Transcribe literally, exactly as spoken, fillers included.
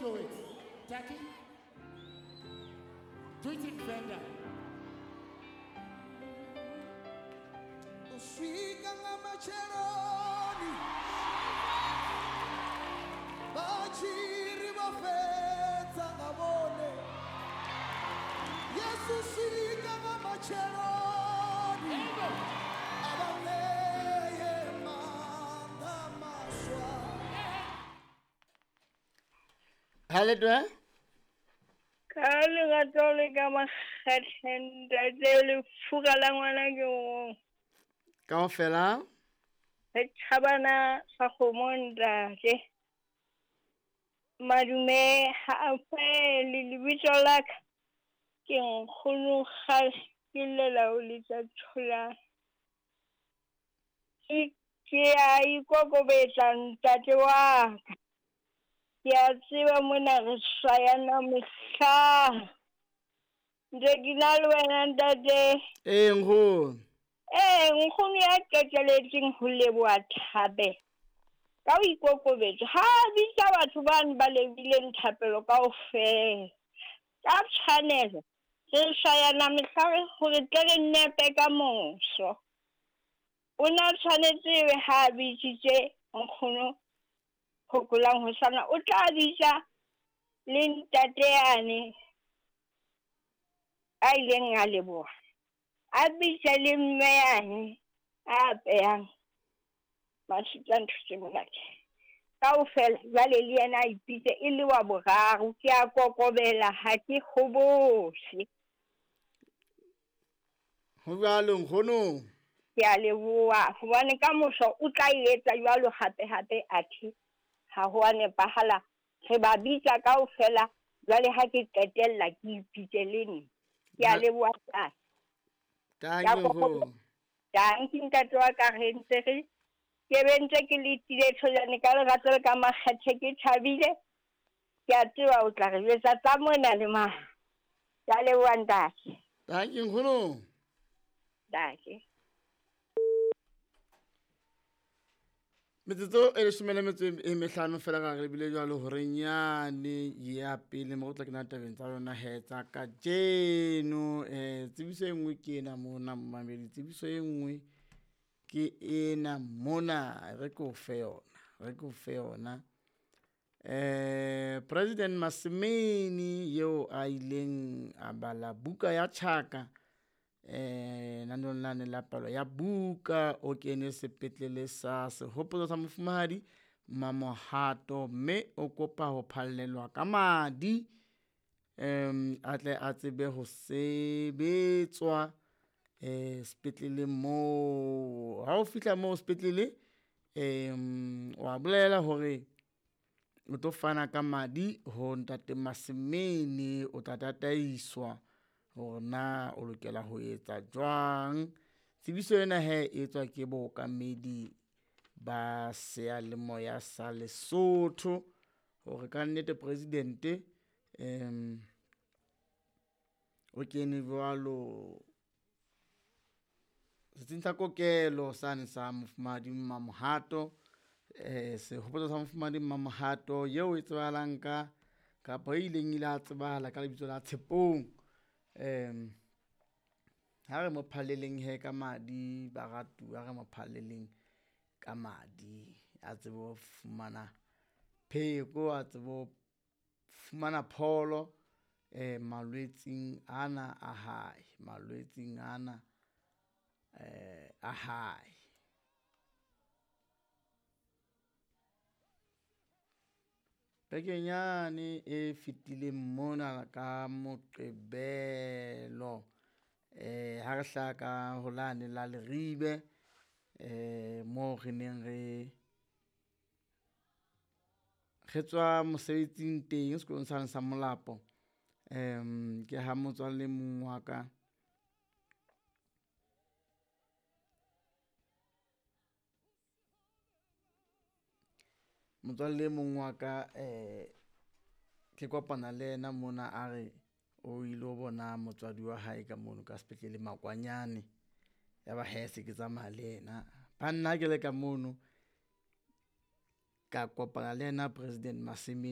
Solo it. Jackie, do it in Venda. Uswika nga matsheloni vha tshi ri vho fhedza nga vhone. Yesu swika nga matsheloni a vha ṋee maanḓa maswa. Haletwe? Ka lerato le ka makgethe ntate lefura la ngwana ke o. Kaofela? Re thabana sa kgomo ntate. Madume ha a fele lebitso la ka ke nkgono kgale ke llela ho letsa thola. Ke ke a ikokobetsa ntate wa ka. Ke a tseba mona re swayana mehla. Ntse ke na le wena ntate. Ee nkgono. Ee nkgono ya qeteletseng ho leboha thabe. Ka ho ikokobetsa ha bitsa batho bane ba lebileng thapelo kaofela. Ka tshwanelo re swayana mehla hore tle re nepe ka moso. O na tshwanetse ebe ha bitsitse nkgono Hokolang hosana o tla bitsa le ntate yane a ileng a leboha. A bitsa le mme yane a apehang masutsa ntho tse monate. Kaofela jwale le yena a ipitse e le wa boraro. Ke a kokobela ha ke kgobose. Ho jwalo nkgono. Ke a leboha hobane ka moso o tla e etsa jwalo hape hape athe ha ho a nepahala. Re ba bitsa kaofela jwale ha ke qetella ke ipitse le nna. Ke a leboha ntate. Thank you nkgono. Thank you ntate wa ka re ntse re ke be ntse ke letile tholane ka lerato le ka makgethe ke thabile. Ke a tseba o tla re jwetsa tsa mona le mane. Ke a leboha ntate. Thank you nkgono. Ntate. Metsotso e leshome le metso e mehlano fela ka re bile jwalo hore nyane ya pele mo tla kena tabeng tsa rona he tsa kajeno. Eh tsebiso e nngwe ke ena mona mmamedi, tsebiso e nngwe ke ena mona re ko fe yona, re ko fe yona. Eh President Masimini eo a ileng a bala buka ya Tjhaka eh nanong lane la palo ya buka o kene sepetlele sa sehopotso sa mofumahadi Mamohato mme o kopa ho phallelwa ka madi em a tle a tsebe ho sebetswa eh sepetlele moo. Ha o fihla moo sepetlele em wa bolela hore o tlo fana ka madi ho ntate Masimini, o tla tataiswa hore na o lokela ho etsa jwang. Tsebiso ena he e tswa ke bookamedi ba seyalemoya sa Lesotho hore ka nnete presidente em o kene jwalo setsing sa kokelo sane sa mofumahadi Mamohato, eh sehopotso sa mofumahadi Mamohato eo e tsebahalang ka kapa e ileng ile a tsebahala ka lebitso la Tshepong. Em ha re mo phalleleng he ka madi baratuwa, ha re mo phalleleng ka madi a tsebe ho fumana pheko, a tsebe ho fumana pholo eh malwetseng ana a hae, malwetseng ana eh a hae. Bekenyane e fetileng mona ka Moqebelo eh ha re hlaha ka ho lane la Leribe eh moo re neng re re tswa mosebetsing teng sekolong sane sa Molapo. Em ke ha motswalle mong wa ka motswalle mong wa ka eh ke kopana le yena mona a re o ile ho bona motswadi wa hae ka mono ka sepetlele Makwanyane. Ya ba he se ke tsamaya le yena ba nna ke le ka mono ka kopana le yena President Masimini.